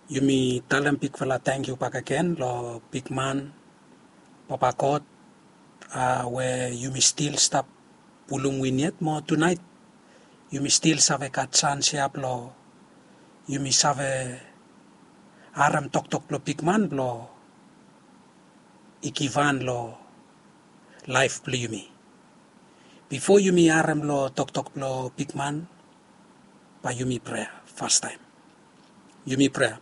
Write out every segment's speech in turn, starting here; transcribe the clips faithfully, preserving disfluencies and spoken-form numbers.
Yumi talem bigfala tangkiu bakegen long bigman, Papa God, a, we yumi stil stap pulum win yet mo tunaet yumi stil save gat sans ya blong yumi save harem toktok blong bigman blong i givhan long laef blong yumi. Bifo yumi harem long toktok blong bigman, bae yumi prea fastaem. Yumi prea.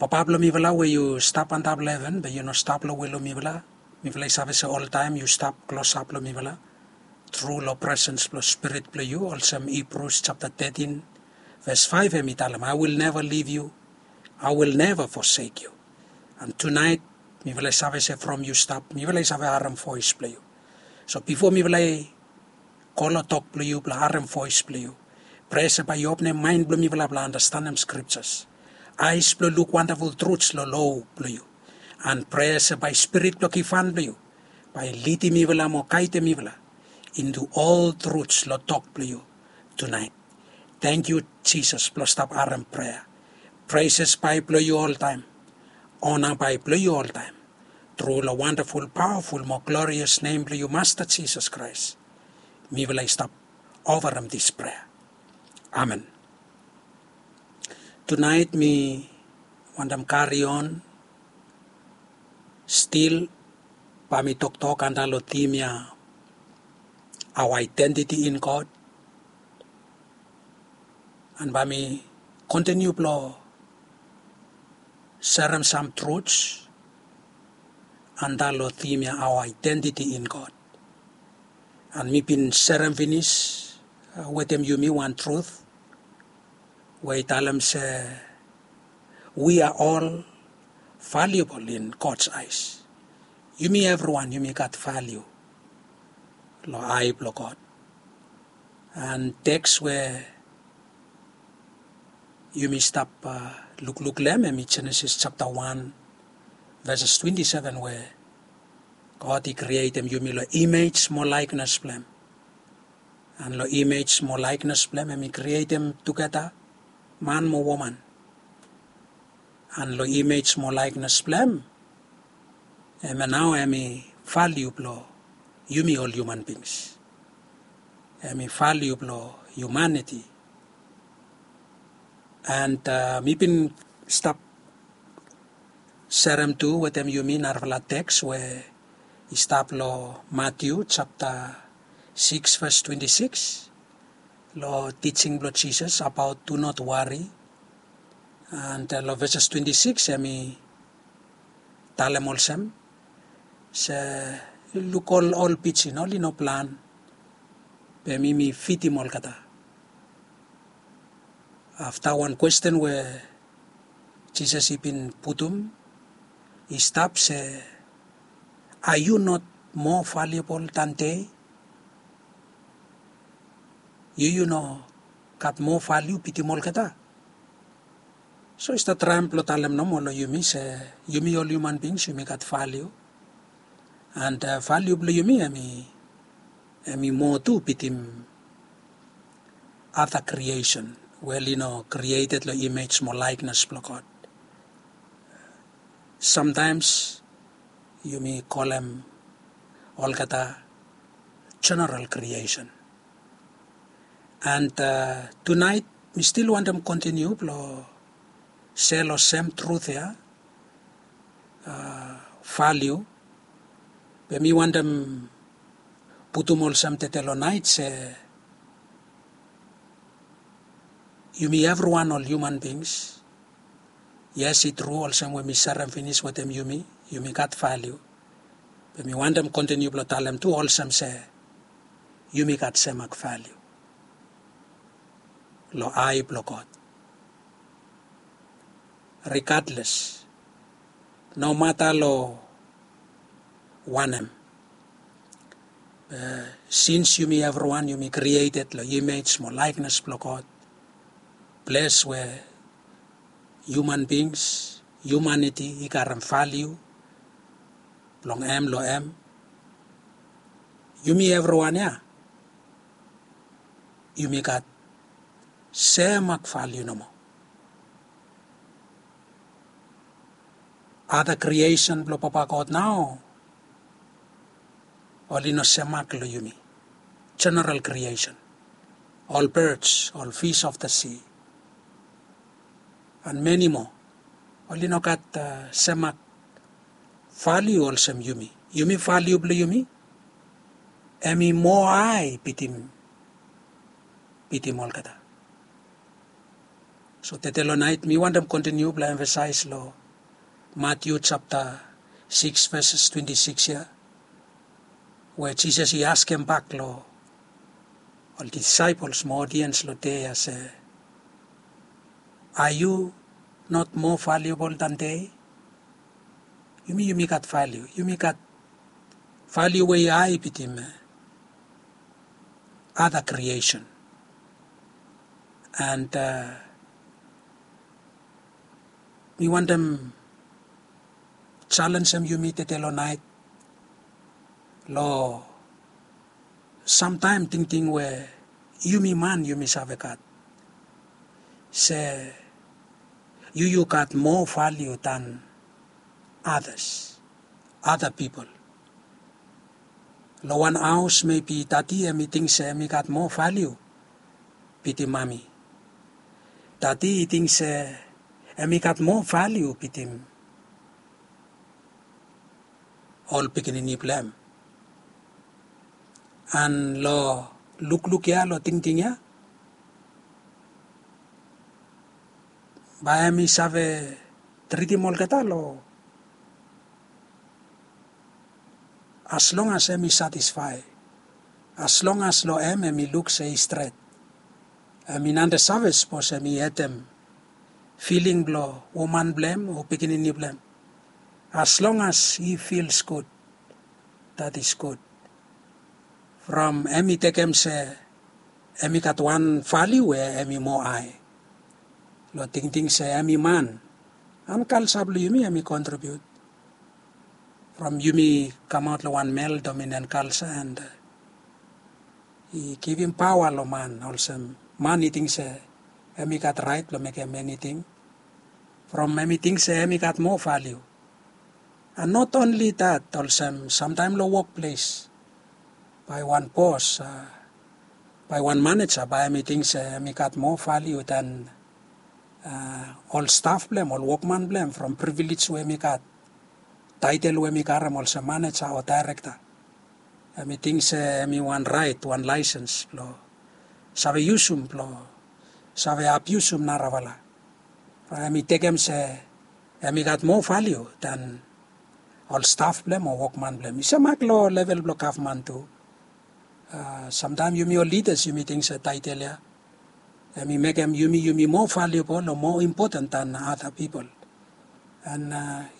Papa blong mifala we yu stap antap long heven, be yu no stap long we long mifala. Mifala i save se oltaem yu stap klosap long mifala tru long presens blong Spirit blong yu, olsem Hibrus japta tetin ves faef hem i talem, "I will never leave you, I will never forsake you." And tunaet mifala i save se from yu stap mifala i save harem voes blong yu. So bifo mifala i go long tok blong yu blong harem voes blong yu, prea se bae yu openem maen blong mifala blong andastanem skriptas, aes blong luk wandaful truts long lo blong yu. And prea se bae Spirit blong givhan blong yu bae lidim mifala mo gaedem mifala into ol truts long tok blong yu tunaet. Tangkiu Jisas blong stap harem prea. Preses bae blong yu oltaem. Ona bae blong yu oltaem. Tru long wandaful, pawaful mo glorias nem blong yu, Masta Jisas Kraes, mifala i stap ofarem dis prea. Amen. Tunaet mi wantem karion stil, bae mi toktok antap long tim ya, our identity in God. And bae mi kontiniu blong serem sam truts antap long tim ya, our identity in God. And mi bin serem finis, a, wetem yumi wan trut we i talem se, we are all valuable in God's eyes. Yumi evriwan yumi gat valiu long ae blong God. And teks we yumi stap, a, lukluk long hem hemi Jenesis japta wan veses twenti seven, we God i krietem yumi long imej mo laeknes blong hem. And long imej mo laeknes blong hem hemi krietem tugeta man mo woman. And long imej mo laeknes blong hem, hemia nao hemi valiu blong yumi ol hiuman bings. Hemi valiu blong hiumaniti. And, a, mi bin stap serem tu wetem yumi narafala teks we i stap long Matiu japta sikis ves twenti sikis, long tijing blong Jisas abaot do not worry. And, a, long veses twenti sikis hemi talem olsem se, luk ol, ol pijin, oli no plan, be mi mi fidim olgeta. Afta wan kwesten we Jisas i bin putum i stap se, are you not more valuable than they? Yu yu no gat moa valiu bitim olgeta? So i stap traem blong talem nomo long yumi se yumi ol hiuman bings yumi gat valiu. And valiu blong yumi hemi moa tu bitim ada kriesen we oli no krieted long imej mo laeknes blong God. Samtaems yumi kolem olgeta jeneral kriesen. And tunaet mi stil wantem kontiniu blong sel long sem trut ya, valiu. Be mi wantem putum olsem tede long naet se yumi evriwan ol hiuman bings. Yes, i tru, olsem we mi serem finis wetem yumi, yumi gat valiu. Be mi wantem kontiniu blong talem tu olsem se yumi gat semak valiu long ae blong God. Rigadles, nomata long wanem, be sins yumi evriwan yumi krieted long imej mo laeknes blong God, ples we hiuman bings, hiumaniti i karem valiu blong hem long hem. Yumi evriwan ya yumi gat semak valiu nomo. Ada kriesen blong Papa God nao oli no semak long yumi. General kriesen, ol birds, ol fish of the sea, and many more, oli no gat semak valiu olsem yumi. Yumi valiu blong yumi hemi moa hae bitim bitim olgeta. So tede long naet mi wantem kontiniu blong emfasaes long Matiu japta sikis veses twenti sikis ya, we Jisas i askembak long ol disaepols mo odiens long dei ya se, are yu not moa valiubol dan dei? Yumi yumi gat valiu, yumi gat valiu we i hae bitim ada kriesen. And mi wantem jalenjem yumi tede long naet long samtaem tingting we yumi man yumi save gat se yu yu gat moa valiu dan adas, ada pipol. Long wan haos mebi dadi hemi ting se hemi gat moa valiu bitim mami. Dadi i ting se hemi gat moa valiu bitim ol pikinini blong hem. And long lukluk ya, long tingting ya, bae hemi save tritim olgeta long as long as hemi satisfae, as long as long hem hemi luk se i stret. Hemi nande save sapos hemi hetem filing blong woman blong hem o pikinini blong hem. As long as he feels good, that is good. From hemi tekem se hemi gat wan valiu we hemi moa hae long tingting se hemi man. And kalsa blong yumi hemi kontribiut from yumi kamaot long wan male dominant culture and i givim paoa long man, olsem man i ting se hemi gat raet blong mekem eniting from hemi ting se hemi gat moa valiu. And not only that, olsem samtaem long wokples bae wan bos, bae wan maneja bae hemi ting se hemi gat moa valiu dan ol staf blong hem, ol wokman blong hem, from privilej we hemi gat, taetel we hemi karem olsem maneja o daerekta. Hemi ting se hemi wan raet, wan laesens blong save yusum, blong save abiusum narafala. Hemi tekem se hemi gat moa valiu dan ol staf blong hem o wokman blong hem. I semak long level blong gavman tu. Samtaem yumi ol lidas yumi ting se taetel ya hemi mekem yumi yumi moa valiubol o moa impoten dan ada pipol. And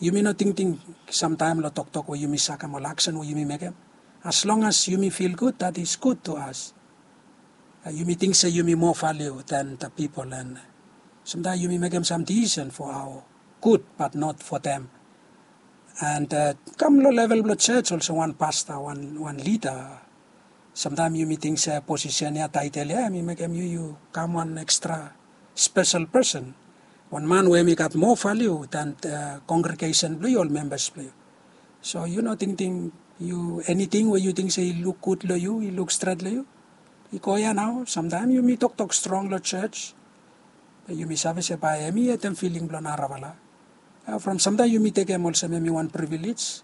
yumi no tingting samtaem long toktok we yumi sakem, ol aksen we yumi mekem. As long as yumi fil gud, that is good to us. Yumi ting se yumi moa valiu dan da pipol, and samtaem yumi mekem sam disisen fo aoa gud, bat not fo dem. And kam long level blong jos, olsem wan pasta, wan lida, samtaem yumi ting se posisen ya, taetel ya hemi mekem yu yu kam wan ekstra spesel pesen, wan man we hemi gat moa valiu dan kongregesen blong yu, ol membas blong yu. So yu no tingting yu, eniting we yu ting se i luk gud long yu, i luk stret long yu, i go ya nao. Samtaem yumi toktok strong long jos, be yumi save se bae hemi hetem filing blong narafala. From samtaem yumi tekem olsem hemi wan privilej,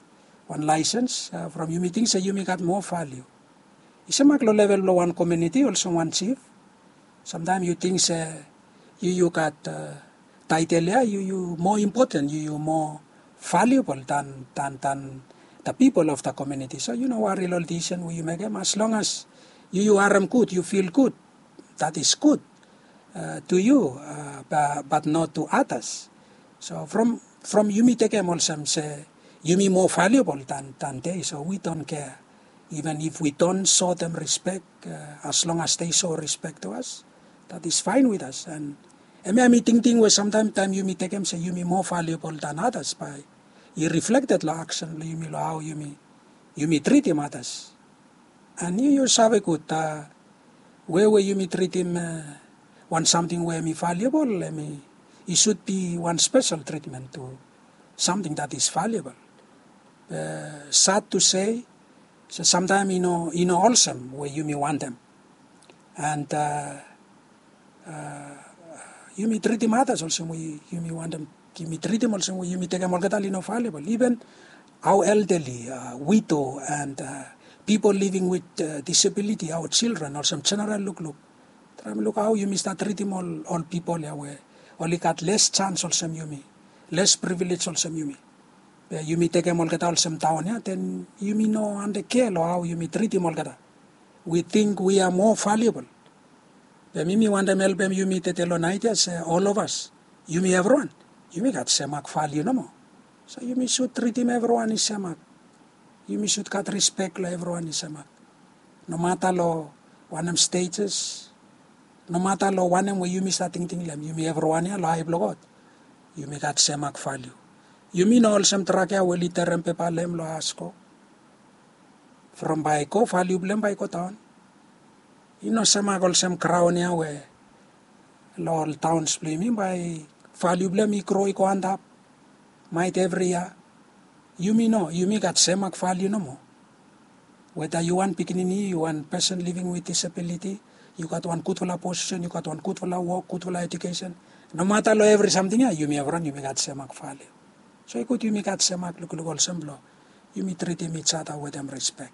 wan laesens, from yumi ting se yumi gat moa valiu. I semak long level blong wan komuniti olsem wan jif. Samtaem yu ting se yu yu gat taetel ya, yu yu moa impoten, yu yu moa valiubol dan, dan, dan da pipol of da komuniti. So yu no wari long ol disisen we yu mekem, as long as yu yu harem gud, yu fil gud, that is good to you, but not to others. So from, from yumi tekem olsem se yumi moa valiubol dan, dan dei, so we don't care. Even if we don't show them respect, as long as they show respect to us, that is fine with us. And hemia hemi tingting we samtaem taem yumi tekem se yumi moa valiubol dan others bae i reflekted long aksen blong yumi, long hao yumi, yumi tritim others. And yu yu save gud, we we yumi tritim wan samting we hemi valiubol, hemi, i sud bi wan spesel tritmen tu. something that is valuable. Be sad to say, se samtaem i no i no olsem we yumi wantem. And uh, uh, yumi tritim others olsem we yumi wantem, yumi tritim olsem we yumi tekem olgeta oli no valuable. Even our elderly, uh, widow and uh, people living with uh, disability, our children, olsem general lukluk. Traem luk hao yumi stap tritim ol ol pipol ya we oli gat les chance olsem yumi, les privilege olsem yumi. Be yumi tekem olgeta olsem daon ya, then yumi no ande kea long hao yumi tritim olgeta. We think we are more valuable. Be mi mi wantem helpem yumi tede long naet ya se ol of as, yumi evriwan, yumi gat semak valiu nomo. So yumi sud tritim evriwan i semak. Yumi sud gat rispek long evriwan i semak. Nomata long wanem status, nomata long wanem we yumi stap tingting long hem, yumi evriwan ya long ae blong God yumi gat semak valiu. Yumi no olsem drak ya we oli terem pepa long hem long asko. From bae i go, valiu blong hem bae i go daon. I no semak olsem graon ya we long ol taons blong yumi bae valiu blong hem i gro i go antap. Maet evri yia. Yumi no, yumi gat semak valiu nomo. Weta yu wan pikinini, yu wan person living with disability, yu gat wan gudfala posisen, yu gat wan gudfala wok, gudfala ejukesen, nomata long evri samting ya yumi evriwan yumi gat semak valiu. So i gud yumi gat semak lukluk olsem blong yumi tritim each other wetem rispek.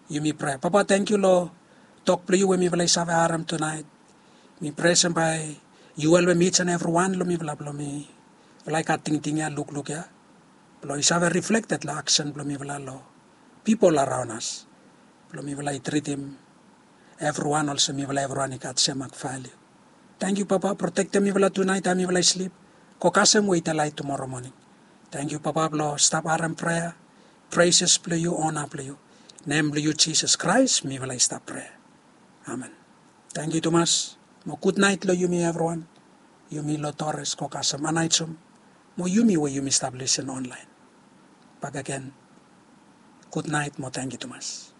Yumi prea. Papa, tangkiu long tok blong yu we mifala i save harem tunaet. Mi prea se bae yu helpem each and evriwan long mifala blong mifala i gat tingting ya, lukluk ya, blong i save reflected long aksen blong mifala long pipol araon as, blong mifala i tritim evriwan olsem mifala evriwan i gat semak valiu. Tangkiu Papa, protektem mifala tunaet taem mifala i slip. Go kasem we i delaet tumoro moning. Tangkiu Papa blong stap harem prea, preses blong yu, ona blong yu. Nem blong yu Jisas Kraes mifala i stap prea. Amen. Tangkiu tumas. Mo gudnaet long yumi evriwan. Yumi long Torres, go kasem Anaetum. Mo yumi we yumi stap lisin onlaen. Bakegen, gudnaet mo tangkiu tumas.